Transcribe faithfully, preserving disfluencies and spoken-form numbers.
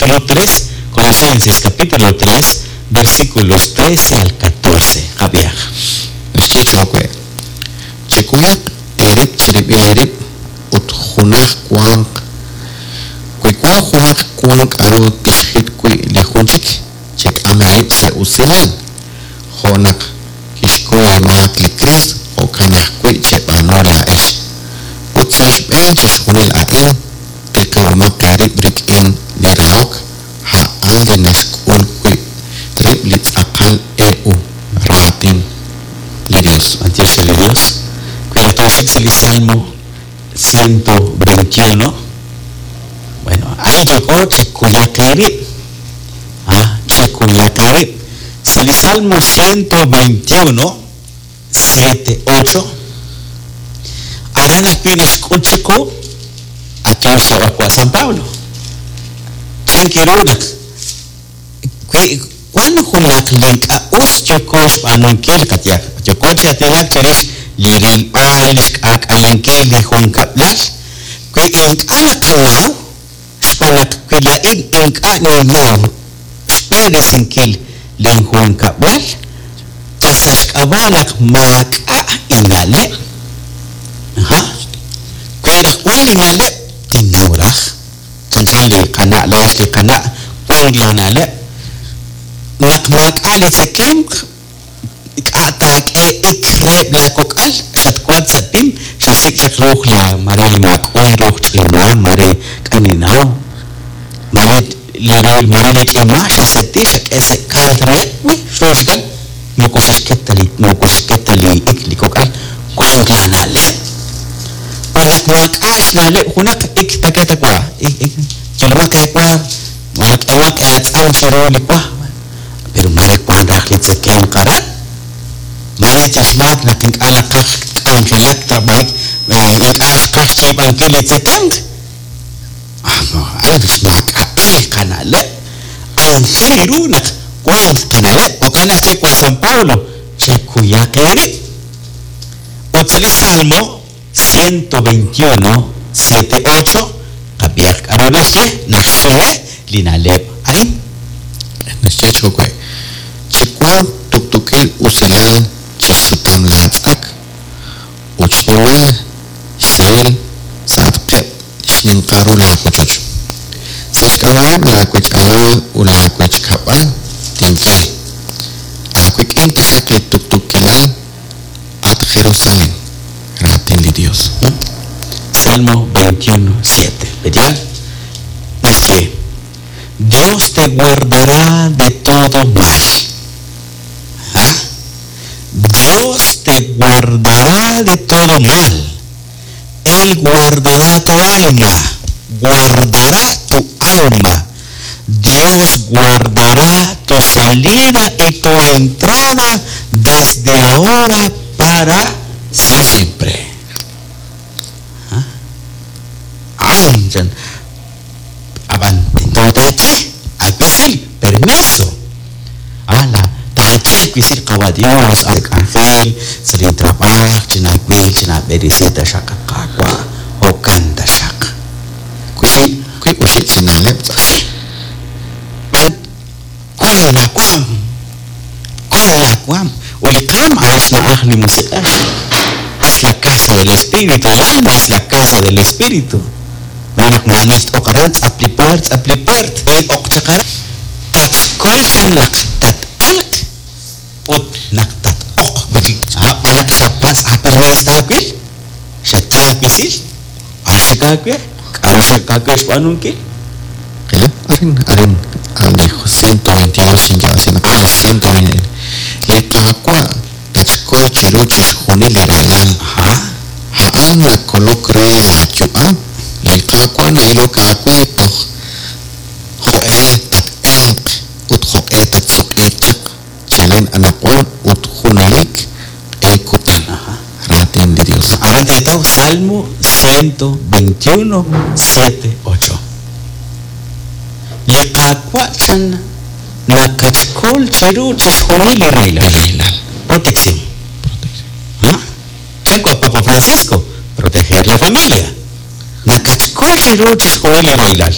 Capítulo tres, Colosenses capítulo tres, versículos trece al catorce. Javier. Naxye chowe. Chekuyaq eerib' chirib'il eerib' ut junaj wanq wi wank junaq wank k'aru tixjit wi' li jun chik chek'am eerib' sa' usilal jo' naq kixkuy eemaak li Kriist jo'kan ajwi' cheb'aanu laa'ex ut sa' xb'een chixjunil a'in tiqib'omaq eerib' rik'in li rahok a'an li naxk'ul wi' rib' li tz'aqal e u raatin li Dios. Dios de Dios. Cuidado el Salmo ciento veintiuno. Bueno, ahí llegó Chekuyakari. Ah, Chekuyakari. El Salmo ciento veintiuno, siete, ocho. Arana pinas kuchiku, a San Pablo. Chenkirunak. Cuando junak link a us yokosh anunkil katyak. Yokoch atinak cherish liril alish ak ayankil li junkablal. Kwi ink alakalaw, xpanak kwilain ink aninaw, xperisinkil lin junkablal, tasashkabalak maka inale. Aha. Kwirak inale, tinawraj. Chanchan li kana, lash li kana, kwan lanale. Naq mak ali tzekem k'atak e ikreb la kok'al xatkuat satim xasik chaq ruuj la mare mak'uy ruuj ch'ima mare k'aninaw mare li mare li ch'ima xaseti xak'e sekal re wi xuxkan moko xaxketa li moko xaxketa li ik li kok'al wan lanaleb naq mak'ax naleb junaq ik taketa kwa ik ik chilmaq kwa mak'emaq atz'am chiru li kwa pero mare kwan raj li tzekem qaran mare chashmak naq ink'a' qaj k'anjelak trabajik ink'a' qaj chiib'ankil li tzekem ah xmak'a'il qanaleb anjel ru naq wan qanaleb jo'kan naq che San Pablo chekuyaq eerib' ut sa' li Salmo ciento veintiuno, siete, ocho qab'iyaq k'aru naxye naxsume li naleb' arin naxye chowe chikwan tuktukil usilal chisutam laatz'ak ut xnimal xsahil sa'atqeb' xninqaru laawochoch sa' xk'ab'a'eb' laawech'alal ut laawechkab'al tinye aawik'in taxaq li tuktukilal at Jerusalén raatin li Dios. Salmo veintiuno, siete. ¿Verdad? Naxye Dios te guardará de todo mal. ¿Ah? Dios te guardará de todo mal. Él guardará tu alma. Guardará tu alma. Dios guardará tu salida y tu entrada desde ahora para siempre. ¿Ah? Ay, permiso. Ala, tache kwisir kawa Dios, al ángel, salir trabajo, chinakwil, chinaberisita shakakakwa, o kanta shak. Kwi kwi uxi chinaleb. Kwan la kwam. Kwan la kwam. Ulikam es la ahli musica. Es la casa del Espíritu, el alma es la casa del Espíritu. Manak manist okaran, aplipert, aplipert, el okchakar. Tatkolchan naq tat-alq ut naq tat-oq. Malak xapas apermes taawil xataawisil axakaawe k'aru xakaawe xb'aanunkil. Arin arin ali ciento veintidós xinyaasina ciento veinte li qaawa tachkol chiru chixjunil li ralal a'an nakolok re laayu'am li qaawa na'ilok aawe toj jo'e tat-elq ut jo'e tatsuq'iiq chaq chalen anaqwan ut junalik q'e kutan raatin li Dios. Aran teetaw Salmo ciento veintiuno, siete, ocho. Li qaawa chan nakachkol chiru chixjunil li rahilal. Protección. ¿Ah? Chanco Papa Francisco, proteger la familia. Nakachkol chiru chixjunil li rahilal.